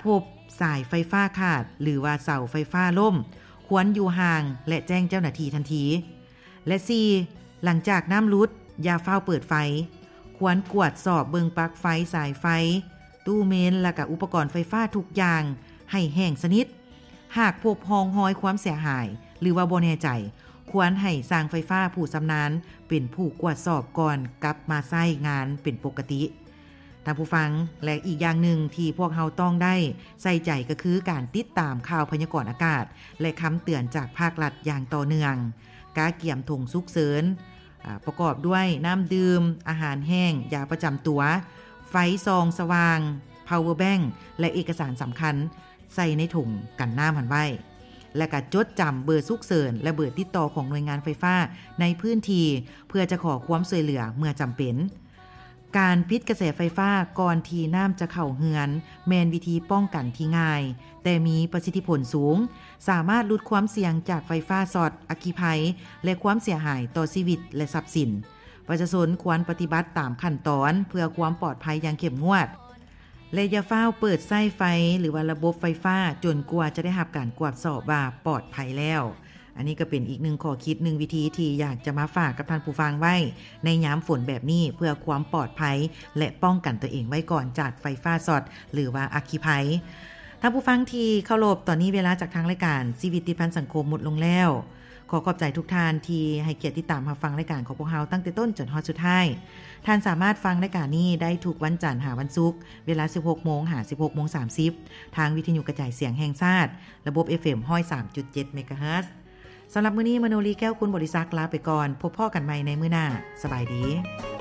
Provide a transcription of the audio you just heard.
ພົບສາຍໄຟຟ້າຂາດ ຫຼືວ່າເສົາໄຟຟ້າລົ້ມ ຄວນຢູ່ຫ່າງ ແລະ ແຈ້ງເຈົ້າໜ້າທີ່ທັນທີ. ແລະ ສີ່ ຫຼັງຈາກນ້ຳຫຼຸດ ຢ່າຟ້າວເປີດໄຟ, ຄວນກວດສອບເບິ່ງປລັກໄຟ, ສາຍໄຟ, ຕູ້ເມນ ແລະ ກະອຸປະກອນໄຟຟ້າທຸກຢ່າງໃຫ້ແຫ້ງສະໜິດ. ຫາກພົບຮ່ອງຮອຍຄວາມເສຍຫາຍ ຫຼືວ່າບໍ່ແນ່ໃຈ, ຄວນໃຫ້ຊ່າງໄຟຟ້າຜູ້ຊຳນານເປັນຜູ້ກວດສອບກ່ອນກັບມາໃຊ້ງານເປັນປົກກະຕິ. ທ່ານຜູ້ຟັງ, ແລະ ອີກຢ່າງໜຶ່ງທີ່ພວກເຮົາຕ້ອງໄດ້ໃສ່ໃຈກໍຄືການຕິດຕາມຂ່າວພະຍາກອນອາກາດ ແລະ ຄຳເຕືອນຈາກພາກລັດຢ່າງຕໍ່ເນື່ອງ, ກະກຽມຖົງສຸກເສີນ, ອາ, ປະກອບດ້ວຍນ້ຳດື່ມ, ອາຫານແຫ້ງ, ຢາປະຈຳຕົວ, ໄຟສ່ອງສະຫວ່າງ, ພາວເວີແບັງ ແລະ ເອກະສານສຳຄັນ ໃສ່ໃນຖົງກັນນ້ຳຫັ້ນໄວ້ ແລະ ກະຈົດຈຳເບີສຸກເສີນ ແລະ ເບີຕິດຕໍ່ຂອງໜ່ວຍງານໄຟຟ້າໃນພື້ນທີ່ ເພື່ອຈະຂໍຄວາມຊ່ວຍເຫຼືອເມື່ອຈຳເປັນ. ການປິດກະແສໄຟຟ້າກ່ອນທີ່ນ້ຳຈະເຂົ້າເຮືອນ ແມ່ນວິທີປ້ອງກັນທີ່ງ່າຍ ແຕ່ມີປະສິດທິຜົນສູງ, ສາມາດຫຼຸດຄວາມສ່ຽງຈາກໄຟຟ້າຊັອດ, ອັກຄີໄພ ແລະ ຄວາມເສຍຫາຍຕໍ່ຊີວິດ ແລະ ຊັບສິນ. ປະຊາຊົນຄວນປະຕິບັດຕາມຂັ້ນຕອນເພື່ອຄວາມປອດໄພຢ່າງເຂັ້ມງວດ ແລະ ຢ່າຟ້າວເປີດໃຊ້ໄຟ ຫຼືວ່າລະບົບໄຟຟ້າຈົນກວ່າຈະໄດ້ຮັບການກວດສອບວ່າປອດໄພແລ້ວ. ອັນນີ້ກໍເປັນອີກໜຶ່ງຂໍ້ຄິດ, ໜຶ່ງວິທີທີ່ຢາກຈະມາຝາກກັບທ່ານຜູ້ຟັງໄວ້ໃນຍາມຝົນແບບນີ້ ເພື່ອຄວາມປອດໄພ ແລະ ປ້ອງກັນຕົວເອງໄວ້ກ່ອນຈາກໄຟຟ້າຊັອດ ຫຼືວ່າອັກຄີໄພ. ທ່ານຜູ້ຟັງທີ່ເຄົາລົບ, ຕອນນີ້ເວລາຈາກທາງລາຍການຊີວິດຕິດພັນສັງຄົມໝົດລົງແລ້ວ. ຂໍຂອບໃຈທຸກທ່ານທີ່ໃຫ້ກຽດຕິດຕາມຮັບຟັງລາຍການຂອງພວກເຮົາຕັ້ງແຕ່ຕົ້ນຈົນຮອດສຸດທ້າຍ. ທ່ານສາມາດຟັງລາຍການນີ້ໄດ້ທຸກວັນຈັນຫາວັນສຸກ ເວລາສິບຫົກໂມງຫາສິບຫົກໂມງສາມສິບ ທາງວິທະຍຸກະຈາຍສຽງແຫ່ງຊາດ ລະບົບ ເອັຟເອັມ ຮ້ອຍສາມຈຸດເຈັດ ເມກາເຮີດ. ສຳລັບມື້ນີ້ ມະໂນລີ ແກ້ວຄຸນບໍລິສັກ ລາໄປກ່ອນ. ພົບພໍ້ກັນໃໝ່ໃນມື້ໜ້າ. ສະບາຍດີ.